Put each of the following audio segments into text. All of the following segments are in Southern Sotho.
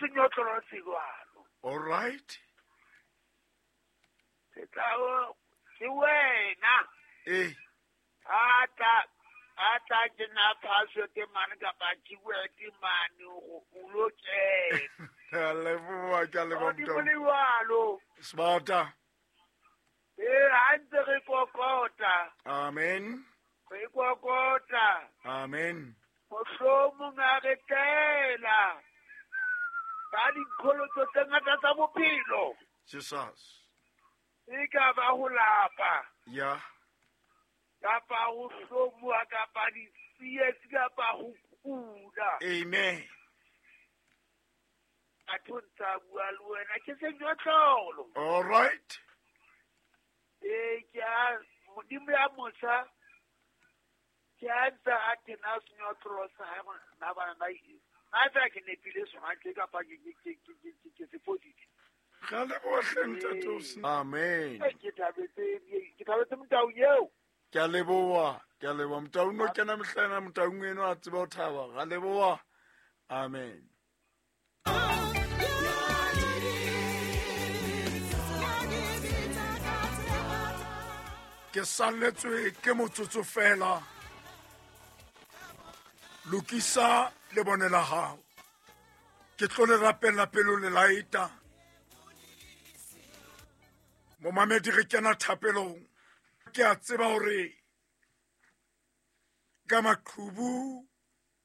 Senyotlolo se jwalo. All right. Se tla ke wena. Eh. A tla ke na password mane kapa keyword mane go o lo kena. Ke a leboha, ke a leboha Modimo le jwalo. Smarta. Ee, ha ntse re kokota. Amen. Re kokota. Amen. Mohlomong a re tlela ka dikgolotso tse ngata tsa bophelo. Jesus. E ka ba ho lapa. Ya. Kapa ho hlomoha, kapa ditsietsi, kapa ho kula. Amen. Batho ntsa bua le wena ke senyotlolo. All right. Ee, ke a Modimo ya mosa ke a ntse a tena senyotlolo sa hae na bana ba na fela ke nepile sona ke kapa ke se fositse. Ga leboha hle ntate o se. Amen. Ke thabetse Motaung eo. Ke a leboha, ke a leboha. Motaung no kena mehlena, Motaung eno a tseba ho thaba. Ga leboha. Amen. Ke salletswe ke motsotso fela. Lokisa lebone la hao. Ke tlo le rapella pelo le laeta. Momamedi re kena thapelong. Ke a tseba hore ka maqhubu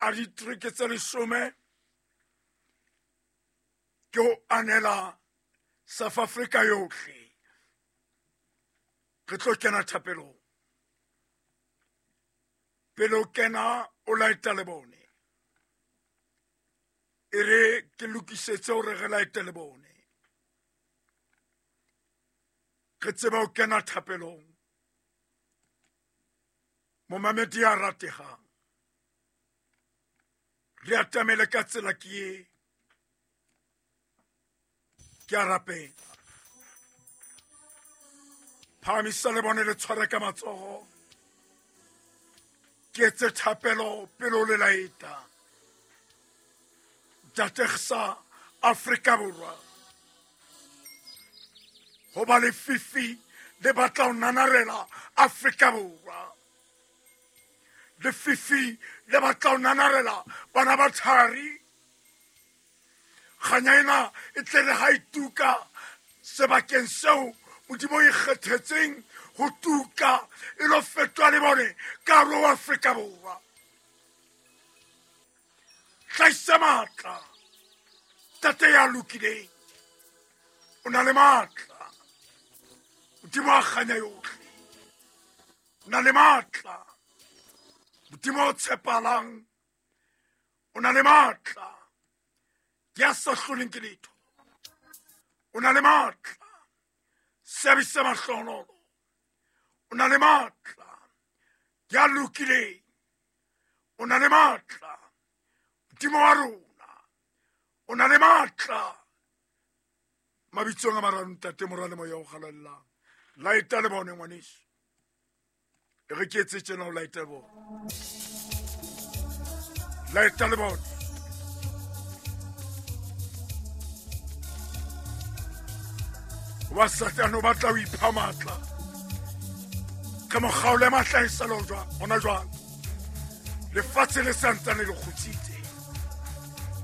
a ditereke tse 10 ke ho anela South Africa yohle. Re tlo kena thapelong. Pele o kena o laeta lebone. E re ke lokisetse hore re laete lebone. Re tseba ho kena thapelong. Momamedi ya ratehang. Re atamele ka tsela ke e. Ke a rapela. Phahamisa lebone le tshware ka matsoho. Ke etse thapelo pele o le laeta. Ntate Afrika Borwa. Hoba lefifi le batla ho nanarela Afrika Borwa. Lefifi le batla ho nanarela bana ba thari. Kganya ena e tle re ha e tuka sebakeng seo Modimo e kgethetseng ho tuka e lo fetoha le bone ka hare ho Afrika Borwa. Hlahisa matla, Ntate ya lokileng, o na le matla. Modimo wa kganya yohle, o na le matla. Modimo o tshepahalang, o na le matla. Ke ya sa hloleng ke letho, o na le matla. Seabe se mahlohonolo, o na le matla. Ke ya lokileng, o na le matla. Modimo wa rona, o na le matla. Mabitsong a mararo, Ntate, Mora le Moya o Halalelang. Laeta le bone ngwaneso. E re ke etse tjena ho laeta le bone. Laeta le bone. Wa Satane o batla ho ipha matla. Ka mokgaolo ya matla e sa le hona jwale. Lefatshe le santsane le kgutsitse.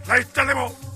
Laeta le bone.